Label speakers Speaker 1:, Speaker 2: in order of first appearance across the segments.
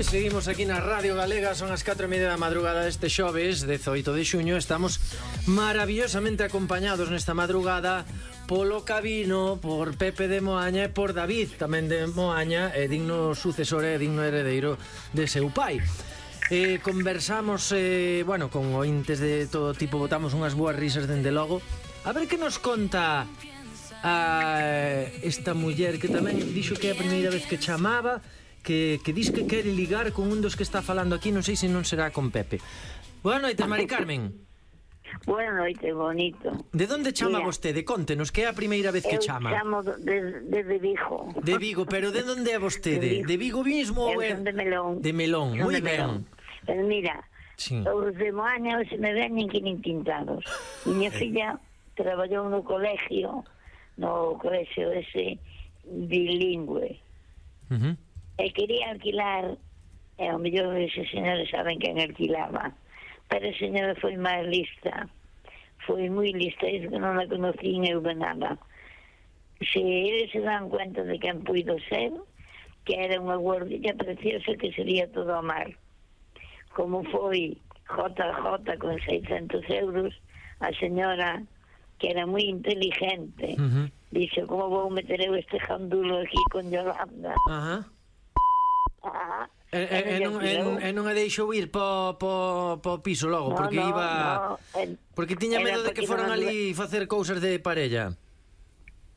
Speaker 1: Pois seguimos aquí na Radio Galega. Son as 4:30 da madrugada deste xoves 18 de xuño. Estamos maravillosamente acompañados nesta madrugada polo Cabino, por Pepe de Moaña e por David tamén de Moaña, digno sucesor e digno heredeiro de seu pai. Conversamos con ointes de todo tipo, botamos unhas boas risas dende logo. A ver que nos conta esta muller que tamén dixo que é a primeira vez que chamaba, que dis que quere ligar con un dos que está falando aquí. Non sei se non será con Pepe. Boa noite, Mari Carmen.
Speaker 2: Boa noite, bonito.
Speaker 1: De onde chama vostede? Contenos, que é a primeira vez que chama.
Speaker 2: Eu chamo desde Vigo.
Speaker 1: De Vigo, pero de onde é vostede? De Vigo mismo ou é?
Speaker 2: De Melón.
Speaker 1: De Melón, moi ben.
Speaker 2: Pero mira,
Speaker 1: sí.
Speaker 2: Os de Moaña se me veñen que nin pintados. Miña filla traballou no colegio ese bilingüe. E quería alquilar, e ao mellor eses señores saben quen alquilaba, pero a señora foi máis lista, foi moi lista, é que non la conocín eu de nada. Se eles se dan cuenta de quen puido ser, que era unha guardilla preciosa que sería todo a mar. Como foi JJ con 600 euros, a señora, que era moi inteligente, dixo, como vou meter eu este jandulo aquí con Yolanda?
Speaker 1: E non a deixou ir po piso logo, porque porque tiña medo de que foran ali facer cousas de parella.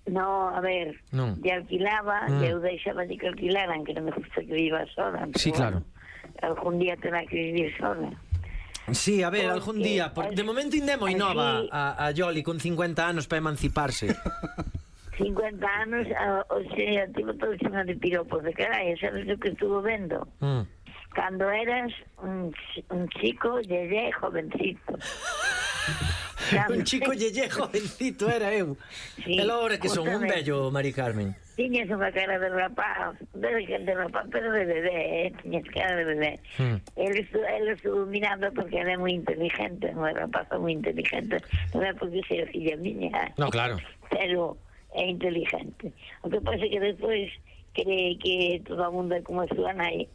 Speaker 2: No, a ver, de alquilaba, e eu deixaba de que alquilaran, que non me gusta que viva sola.
Speaker 1: Sí, claro.
Speaker 2: Algún día terá que vivir sola.
Speaker 1: Sí, a ver, algún día. De momento ainda é moi nova a Yoli, con 50 anos para emanciparse. 50
Speaker 2: anos, o sea, tivo todo chino de piropos de carai, sabes o que estuvo vendo? Cando eras un chico yeye jovencito.
Speaker 1: Un chico yeye jovencito era eu. Sí, e logo que son un bello, Mari Carmen.
Speaker 2: Tiñas unha cara de rapaz, pero de bebé, tiñas cara de bebé. Él estuvo mirando porque era moi inteligente, non era rapaza moi inteligente, non é porque sea filla miña.
Speaker 1: No, claro.
Speaker 2: Pero é inteligente. O que pasa que despois cree que todo o mundo é como a súa nai.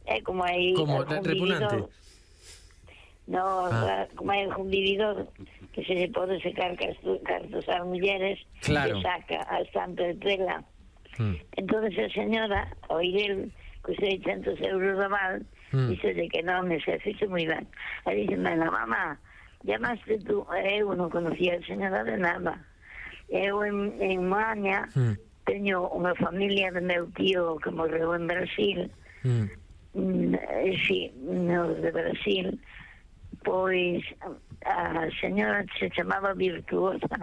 Speaker 2: É como aí
Speaker 1: como repugnante.
Speaker 2: No, como hai un vividor que se pode secar cartos ás mulleres, claro, que saca a estante de tela. Entonces a señora, ao ir el con 600 euros de aval, dice que non, se fixe moi ben. E dice, mamá, llamaste tú? Eu non conocía a señora de nada. Eu en Moaña teño unha familia de meu tío que morreu en Brasil. Sí, no, de Brasil. Pois a señora se chamaba Virtuosa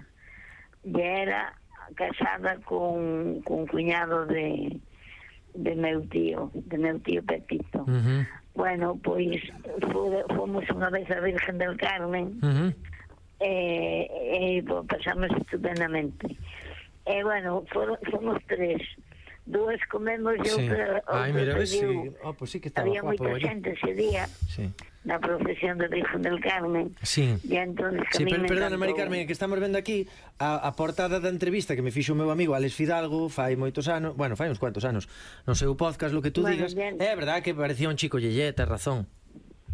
Speaker 2: e era casada con cuñado de meu tío Pepito. Bueno, pois fomos unha vez a Virgen del Carmen e pasamos estupendamente. E bueno, fomos tres. Duas comemos e outra...
Speaker 1: Ai, mira, ves si... pues sí que estaba
Speaker 2: había moita xente ese día na procesión de Virgen del Carmen.
Speaker 1: Sí.
Speaker 2: E entonces
Speaker 1: perdona, Mari Carmen, que estamos vendo aquí a portada da entrevista que me fixo o meu amigo Alex Fidalgo fai moitos anos, bueno, fai uns cuantos anos, no seu podcast, lo que tú digas. É verdad que parecía un chico yeye, tes razón.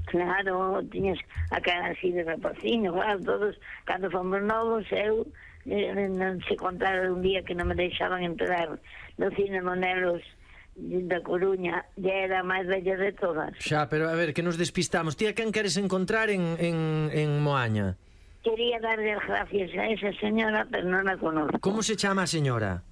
Speaker 2: Claro, tiñas a cara así de rapaciño, claro, todos, cando fomos novos, eu non se contara un día que non me deixaban entrar no cine Monelos da Coruña, ya era a máis bella de todas.
Speaker 1: Xa, pero a ver, que nos despistamos. Ti a quen queres encontrar en Moaña?
Speaker 2: Quería darle as gracias a esa señora, pero non a conozco.
Speaker 1: Como se chama a señora?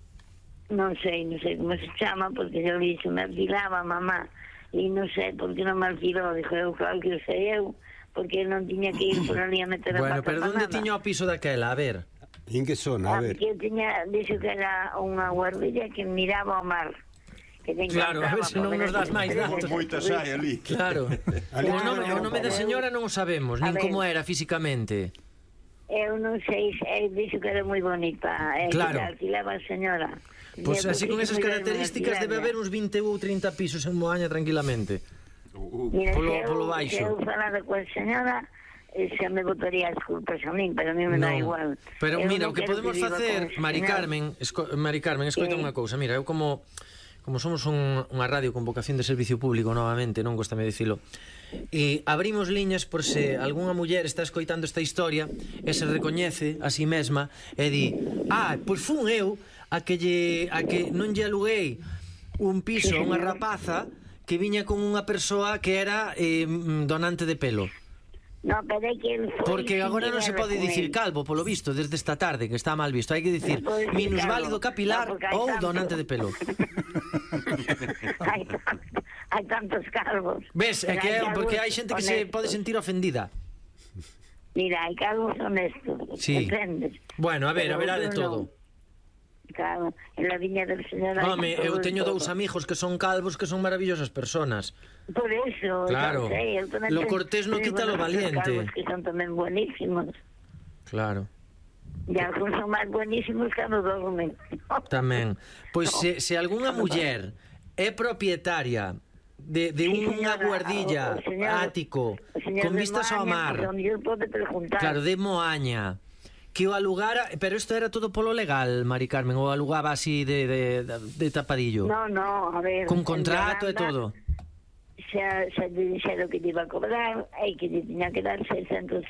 Speaker 2: Non sei como se chama, porque eu dixo, me alquilaba mamá, e non sei por que non me alquilou. Dixo, eu claro que sei eu, porque non tiña que ir por ali a meter a pata.
Speaker 1: Bueno, pero onde tiña o piso daquela? A ver.
Speaker 3: En que zona? A ver.
Speaker 2: Porque dixo que era unha guardilla que miraba ao mar.
Speaker 1: Claro, a ver se non nos das máis datos.
Speaker 3: Moitas hai ali.
Speaker 1: Claro. O nome da señora non o sabemos, nin como era físicamente.
Speaker 2: Eu non sei, dixo que era moi bonita.
Speaker 1: Claro.
Speaker 2: Que alquilaba a señora.
Speaker 1: Pois así con esas características debe haber uns 20 ou 30 pisos en Moaña tranquilamente. Polo baixo.
Speaker 2: Se eu falara coa señora, xa me botaría as culpas a min, pero a mí me dá igual.
Speaker 1: Pero mira, o que podemos facer, Mari Carmen, escoita unha cousa, mira, eu como como somos unha radio con vocación de servicio público novamente, non gostame dicilo, e abrimos liñas por se algunha muller está escoitando esta historia e se recoñece a si mesma e di, pois fun eu a que non lle aluguei un piso a unha rapaza que viña con unha persoa que era donante de pelo.
Speaker 2: No, pero é que el foi...
Speaker 1: Porque agora non se pode dicir calvo, polo visto, desde esta tarde, que está mal visto. Hai que dicir minusválido capilar ou donante de pelo.
Speaker 2: Hai tantos calvos.
Speaker 1: Ves, é que porque hai xente que se pode sentir ofendida.
Speaker 2: Mira, hai calvos honestos, entendes?
Speaker 1: Bueno, a ver, haberá de todo.
Speaker 2: Claro, en la viña del señor...
Speaker 1: Home, eu teño dous amigos que son calvos que son maravillosas personas.
Speaker 2: Por eso,
Speaker 1: claro, lo cortés no quita lo valiente.
Speaker 2: Calvos que son tamén buenísimos.
Speaker 1: Claro.
Speaker 2: E algúns son máis buenísimos que non dormen.
Speaker 1: Tamén. Pois se algunha muller é propietaria de unha guardilla ático con vistas ao mar, claro, de Moaña, que o alugara, pero isto era todo polo legal, Mari Carmen, o alugaba así de tapadillo?
Speaker 2: No, a ver...
Speaker 1: Con contrato e todo?
Speaker 2: Xa dixeron que te iba a cobrar e que te tiña que dar 600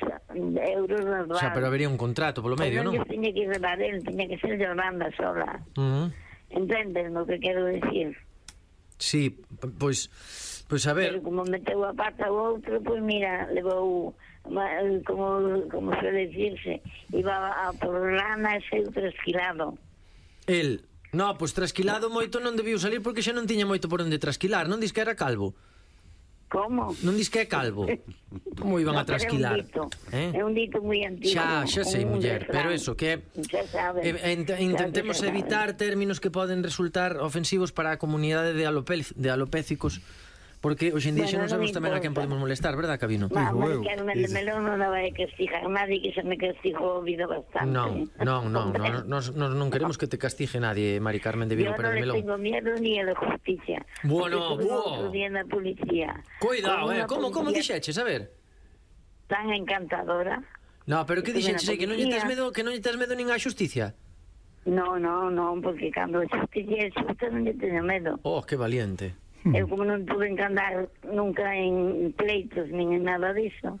Speaker 2: euros na rada.
Speaker 1: Xa, pero habería un contrato polo medio, non?
Speaker 2: Non tiña que levar él, tiña que ser Yolanda sola. Entendes o que quero dicir?
Speaker 1: Sí, pois a ver...
Speaker 2: Pero como meteu a pata o outro, pois mira, levou... como suele decirse, iba a por lana e seu trasquilado.
Speaker 1: El, no, pois trasquilado moito non debiu salir porque xa non tiña moito por onde trasquilar, non dis que era calvo?
Speaker 2: Como?
Speaker 1: Non dis que é calvo? Como iban a trasquilar?
Speaker 2: É un dito moi antigo.
Speaker 1: Xa sei, muller, pero eso, que intentemos evitar términos que poden resultar ofensivos para a comunidade de alopécicos, porque hoxe en día xa non sabemos tamén a quen podemos molestar, verdad, Cabino?
Speaker 2: Vamos, que Carmen de Melón non vai castigar nadie, que xa me castigou a vida bastante.
Speaker 1: Non queremos que te castigue nadie, Mari Carmen de Vigo Pérez de Melón.
Speaker 2: Yo no le tengo miedo ni a la justicia.
Speaker 1: Bueno,
Speaker 2: otro día en la policía.
Speaker 1: Cuidado, como dixeches, a ver?
Speaker 2: Tan encantadora.
Speaker 1: No, pero que dixeches, que non lle tes medo nin á xusticia?
Speaker 2: No, porque cando a justicia é xusta non lle teño medo.
Speaker 1: Oh, que valiente.
Speaker 2: Eu como non tuve que andar nunca en pleitos nin en nada disso,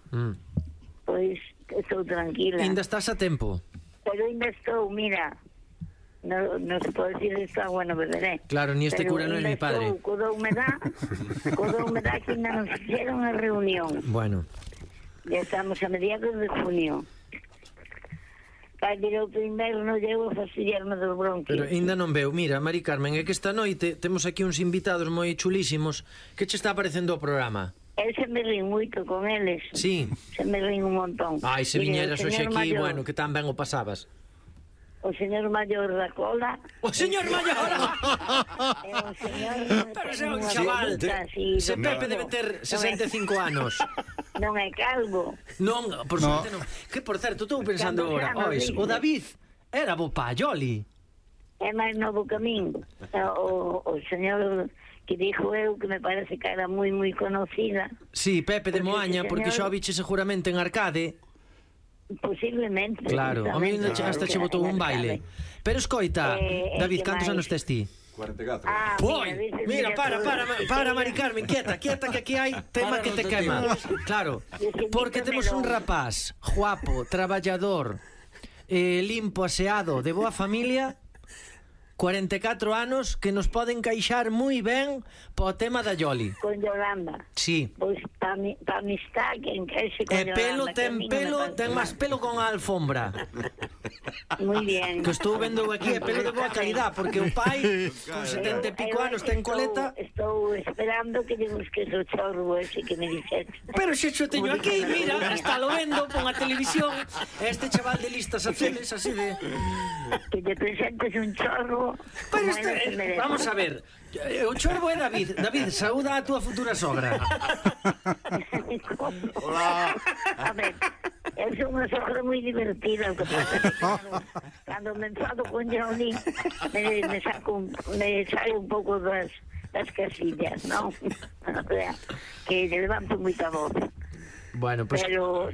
Speaker 2: pois estou tranquila.
Speaker 1: Ainda estás a tempo.
Speaker 2: Pero ainda estou, mira, non se pode decir isto, bueno, beberé.
Speaker 1: Claro, ni este cura non é mi padre.
Speaker 2: Pero coda humedad que ainda non fixeron a reunión.
Speaker 1: Bueno.
Speaker 2: Ya estamos a mediados de junio. Vai vir outro inverno, llevo a fastidiarme dos bronquios.
Speaker 1: Pero ainda non veo. Mira, Mari Carmen, é que esta noite temos aquí uns invitados moi chulísimos. Que che está parecendo o programa?
Speaker 2: Se me rín moito con eles.
Speaker 1: Sí.
Speaker 2: Se me rín un montón.
Speaker 1: Ai, se viñeras hoxe aquí, bueno, que tan ben o pasabas.
Speaker 2: O señor maior da cola.
Speaker 1: O señor maior!
Speaker 2: É un señor...
Speaker 1: Pero se é un chaval. Se Pepe debe ter 65 anos.
Speaker 2: Non é calvo.
Speaker 1: Non, por suerte non. Que, por certo, estou pensando agora, o David era bo payoli.
Speaker 2: É máis novo que a min. O señor que dixo eu, que me parece que era moi conocida.
Speaker 1: Sí, Pepe de Moaña, porque xa o biche seguramente en Arcade.
Speaker 2: Posiblemente.
Speaker 1: Claro, a mí hasta che botou un baile. Pero escoita, David, cantos anos tes ti?
Speaker 3: 44.
Speaker 1: Oi, mira, para, Mari Carmen, quieta, que aquí hai tema que te quema. Claro, porque temos un rapaz guapo, traballador, limpo, aseado, de boa familia, 44 anos, que nos poden encaixar moi ben po tema da Yoli.
Speaker 2: Con Yolanda.
Speaker 1: Sí.
Speaker 2: Pois pa amistad que encaixe con Yolanda.
Speaker 1: Ten máis pelo con a alfombra.
Speaker 2: Muy bien.
Speaker 1: Que estou vendo aquí é pelo de boa calidad, porque o pai con 70 e pico anos ten coleta.
Speaker 2: Estou esperando que lle busques o chorro ese que me dixete.
Speaker 1: Pero xe xo teño aquí, mira, está lo vendo pon a televisión. Este chaval de listas azules, así de...
Speaker 2: Que te presentes un chorro.
Speaker 1: Pero vamos a ver, o chorbo é David. David, saúda a túa futura sogra.
Speaker 2: Hola. A ver, eu sou unha sogra moi divertida. O que pasa que cando me enfado con Johnny me saio un pouco das casillas, non? O sea, que le levanto moita voz.
Speaker 1: Bueno, pues...
Speaker 2: Pero